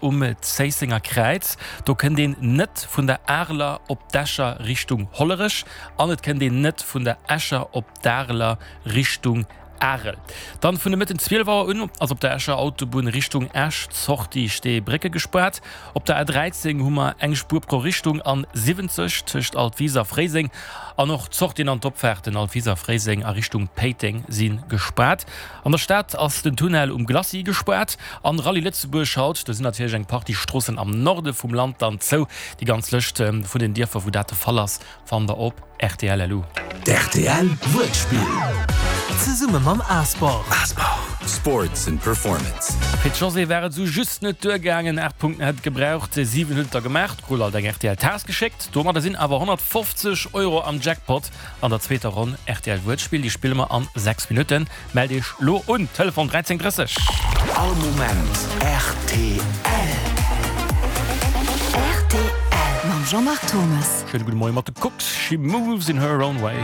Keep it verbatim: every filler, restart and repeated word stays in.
Um Zéissenger Kräiz, do kënnt een net vun der Areler op d'Escher Richtung Hollerech an et kënnt een net vun der Escher op d'Areler Richtung Arel. Dann vun de Mëtten zwielef Auer un ass op der Escher Autobunn Richtung Esch d'Sortie Steebrécke gespaart. Op der A dräizéng hu mer eng Spuer pro Richtung an siwwenzeg tëscht Altwis a Fréiseng an och d'Sortien an d'Opfaarten Altwis a Fréiseng a Richtung Péiteng si gespaart. An der Stad ass den Tunnel um Glacis gespaart an Rallye Lëtzebuerg haut. Do sinn natierlech eng Partie Stroossen am Norde vum Land dann zou. Déi ganz Lëscht vun den Dierfer wou dat de Fall ass fannt der op rtl.lu. D'R T L Wuertspill. Zesumme mam A-Sport. Sports and Performance. Fir d'Josée war et sou just net duergaangen, aacht Punkten hätt et gebraucht, siwen huet et der gemaach, krut alt eng R T L-Taass geschéckt. Domadder sinn awer honnertfofzeg Euro am Jackpot an der zweeter Ronn R T L Wuertspill. Déi spille mer an sechs Minutten. Mellt iech lo un, Telefon dräizéng drësseg. All Moment R T L. R T L mam Jean-Marc Thomas. Schéine gudde Moie mat de Kooks, She Moves in Her Own Way.